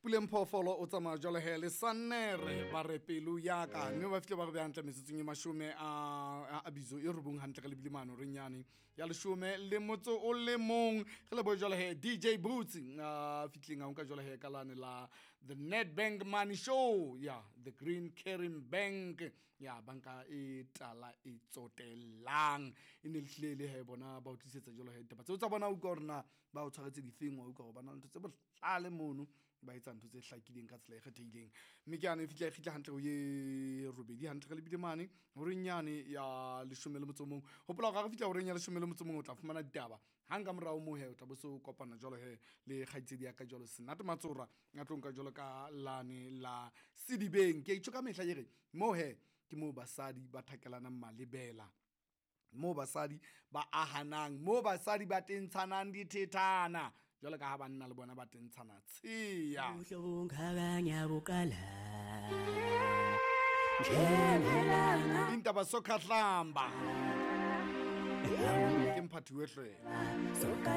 Puleng Phoofolo o tsamaya jwalo he le Sannere ba re pelo ya ka, mme ba fihle ba re beha hantle metsotsong e mashome a bizo e robong hantle re lebile mane horeng yane ya leshome le motso o le mong. Re lebohe jwalo he DJ Boots a fihlileng a nka jwalo he ka lane la the Nedbank Money Show ya the Green Caring Bank ya banka e tala e tsotellang e ne le hlile le he bona ba o tlisetsa jwalo he ditaba tseo tsa bona. Utlwa hore na ba o tshwaretse difeng, wa utlwa hore ba na le ntho tse bohlale mono, ba etsa ntho tse hlakileng ka tsela e kgethehileng. Mme ke yane e fihla e kgitla hantle ho ye robedi hantle re lebile mane horeng yane ya leshome le motso o mong. Hopola hore ha re fihla horeng ya leshome le motso o mong o tla fumana ditaba hang ka morao moo he o tla bo se o kopana jwalo he le kgaitsedi ya ka jwalo Senate Matsora a tlo nka jwalo ka lane la Sedibeng. Ke itjho ka mehla ke re moo he ke moo basadi ba thakelanang malebela, moo basadi ba ahanang, moo basadi ba tentshanang dithethana jwalo ka ha banna le bona ba tentshana tsheya. Buhle bungakanya buqala njengelanga. Intaba sokhahlamba ke mphathi wehlwela. Soka.